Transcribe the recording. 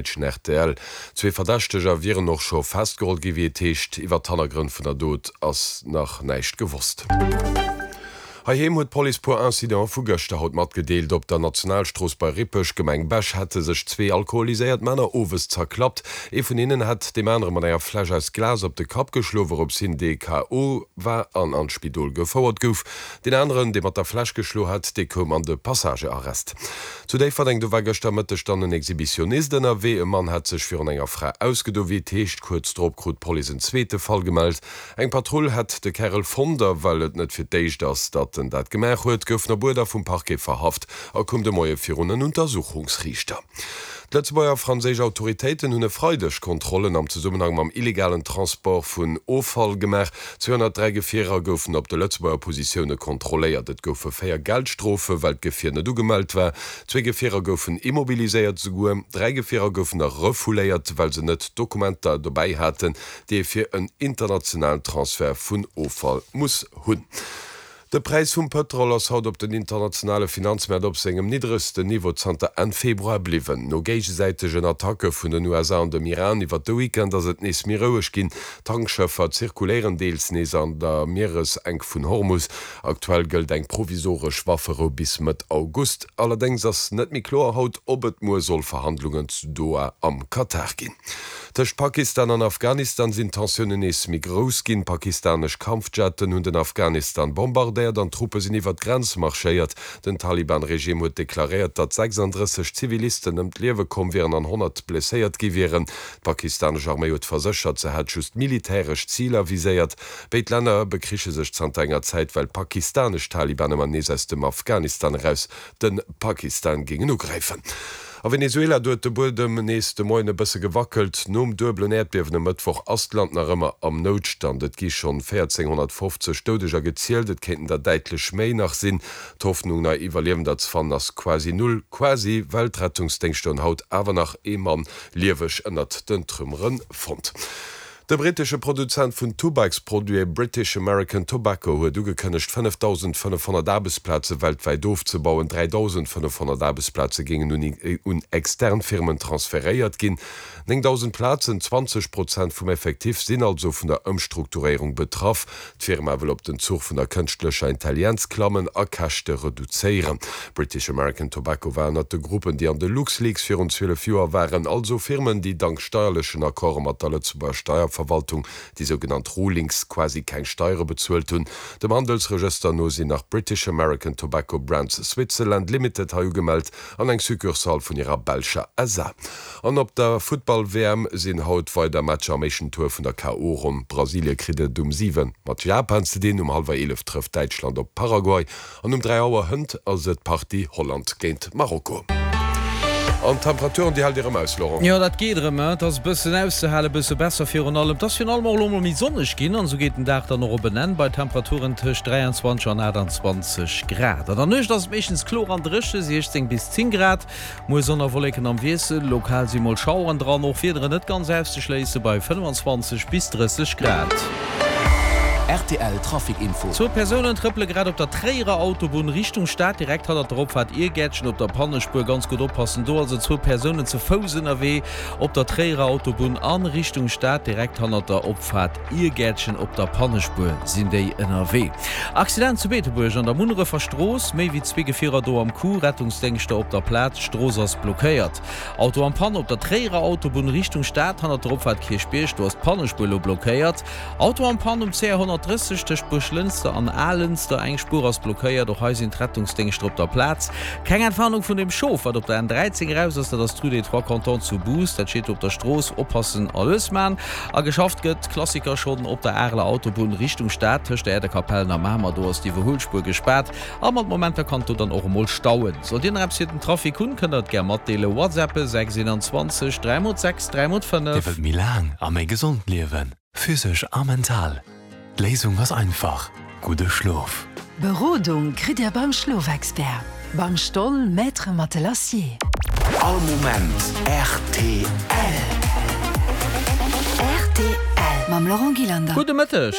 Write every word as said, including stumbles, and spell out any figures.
Däitschen rtl. Zwee Verdächteger wieren och scho festgeholl gi wéi et heescht. Iwwer d'Hannergrënn vun der Dot ass nach näischt gewosst. Heiheem huet d'Police puer Incidente vu gëschter haut matgedeelt. Op der Nationalstrooss bei Rippeg, Gemeng Bech, hätte sech zwee alkoholiséiert Männer owes zerklappt. Ee vun hinnen hätt deem anere mat enger Fläsch aus Glas op de Kapp geschloen, wourops hien dee KO. war an an d'Spidol gefouert gouf. Deen aneren, dee mat der Fläsch geschloen hat, dee koum an de Passagearrest. Zu Déifferdeng, do war gëschter Mëtteg dann en Exhibitionist ënnerwee. E Mann hat sech virun enger Fra ausgedo, wéi et heescht. Kuerz drop krut d'Police en zweete Fall gemellt. Eng Patrull hätt de Kärel fonnt a well et net fir d'éischt ass, datt en dat gemaach huet, gouf en op Uerder vum Parquet verhaft a koum de Moie virun en Untersuchungsriichter. D'Lëtzebuerger a franséisch Autoritéiten hunn e Freideg Kontrollen am Zesummenhang mam illegalen Transport vun Offall gemaach. Zweehonnertdräi Gefierer goufen op de Lëtzebuerger Positioune kontrolléiert. Et goufe véier Geldstrofe well d'Gefier net ugemellt war. Zwee Gefierer goufen immobiliséiert. Souguer dräi Gefierer goufen nach refouléiert, well se net d'Dokumenter dobäi haten, déi ee fir en internationalen Transfert vun Offall muss hunn. De Präis vum Pëtrol ass haut op den internationale Finanzmäert op sengem niddregsten Niveau zanter Enn Februar bliwwen. No géigesäitegen Attacke vun den U S A an dem Iran iwwert de Weekend ass et nees méi roueg ginn. Tankschëffer zirkuléieren deels nees an der Mieresenk vun Hormus. Aktuell gëllt eng provisoresch Wafferou bis Mëtt August. Allerdéngs ass net méi kloer haut, ob et muer soll Verhandlungen zu Doha am Katar ginn. Tëscht Pakistan an Afghanistan sinn d'Tensiounen nees méi grouss ginn. Pakistanesch Kampfjetten hunn den Afghanistan bombardéiert an Truppe sinn iwwer d'Grenz marschéiert. Den Taliban-Regime huet deklaréiert, datt sechsanddrësseg Zivilisten ëm d'Liewe komm wieren an honnert blesséiert gi wieren. D'pakistanesch Arméi huet verséchert, se hätt just militäresch Ziler viséiert. Béid Länner bekriche sech zanter enger Zäit, well pakistanesch Taliban ëmmer nees aus dem Afghanistan eraus de Pakistan géingen ugräifen. A Venezuela, do huet de Buedem nees de Moien e bësse gewackelt. Nom duebelen Äerdbiewen e Mëttwoch ass d'Land nach ëmmer am Noutstand. Et gi schonn véierzénghonnertfofzeg Doudeger gezielt, et kéinten der däitlech méi nach sinn. D'Hoffnung nei Iwwerliewender ze fannen ass quasi null. Quasi, well d'Rettungsdéngschter hunn haut awer nach ee Mann lieweg ënnert den Trümmere fonnt. De brittesche Produzent vun Tubaksproduite British American Tobacco huet ugekënnegt, fënnefdausendfënnefhonnert Aarbechtsplaze weltwäit ofzebauen. Dräidausendfënnefhonnert Aarbechtsplaze géingen un extern Firmen transferéiert ginn. Néngdausend Plazen, zwanzeg Prozent vum Effectif, sinn also vun der Ëmstrukturéierung betraff. D'Firma wëll op den Zuch vun der kënschtlecher Intelligenz klammen a Käschte reduzéieren. British American Tobacco war ënnert de Gruppen, déi an de LuxLeaks virun zwielef Joer waren, also Firmen, déi dank steierlechen Accorde mat der Lëtzebuerger Steierverwaltung, déi sougenannt Rulings, quasi keng Steiere bezuelt hunn. Dem Handelsregëster no sinn nach British American Tobacco Brands Switzerland Limited hei ugemellt an eng Succursale vun hirer belscher S A. An op der Futtball-W M sinn haut weider Matcher am éischten Tour vun der K O. Ronn. Brasilie kritt et um siwen mat Japan ze dinn, um hallwer eelef trëfft Däitschland op Paraguay an um dräi Auer hënt ass et d'Partie Holland géint Marokko. An d'Temperaturen, déi haalt Dir erëm aus, Laurent? Jo, dat geet erëm. Et ass e bëssen auszehalen, e bësse besser virun allem. Et ass virun allem och elo mol méi sonneg ginn an esou geet den Dag dann och op en Enn bei Temperaturen tëscht dräianzwanzeg an aachtanzwanzeg Grad. An der Nuecht ass et meeschtens kloer an dréche, siechzéng bis zéng Grad. Muer Sonn a Wolleken am Wiessel, lokal si mol Schaueren dran, och Wiederen net ganz auszeschléisse bei fënnefanzwanzeg bis drësseg Grad. Rtl Trafic Info. Zwou Persounen trëppele grad op der Tréierer Autobunn Richtung Stad, direkt hannert der Opfaart Iergäertchen op der Pannespuer. Ganz gutt oppassen do, also zwou Persounen ze Fouss ënnerwee op der Tréierer Autobunn a Richtung Stad, direkt hannert der Opfaart Iergäertchen op der Pannespuer sinn déi ënnerwee. Accident zu Beetebuerg an der Munnerefer Strooss, méi wéi zwee Gefierer do am Coup, Rettungsdéngschter op der Plaz, d'Strooss ass blockéiert. Auto en Panne op der Tréierer Autobunn Richtung Stad, hannert der Opfaart Kierchbierg, do ass d'Pannespuer elo blockéiert. Auto en Panne um C R honnertdrësseg tëscht Buerglënster an Alënster, eng Spuer ass blockéiert, och hei sinn d'Rettungsdéngschter op der Plaz. Keng Entwarnung vun dem Schof, wat op der N dräizéng eraus ass, dat ass d'Rue des Trois Cantons zu Bous, dat steet do op der Strooss, oppassen a lues man. A geschafft gëtt, Klassiker, schonn op der Areler Autobunn Richtung Stad tëscht der Äerdekapellen a Mamer, do ass d'Iwwerhuelspuer gespaart a mat Momenter kann et do dann och emol stauen. Sollt Dir nach eppes fir den Trafic hunn, kënnt der et gär matdeelen, WhatsAppe sechs einundzwanzeg dräi mol sechs dräi mol Dir fënnef. wëllt méi laang a méi gesond liewen, physesch a mental? D'Léisung ass einfach, gudde Schlof. Berodung kritt Dir beim Schlofexpert, beim Stoll Maître Matelassier. All Moment rtl. Rtl mam Laurent Gillander. Gudde Mëtteg.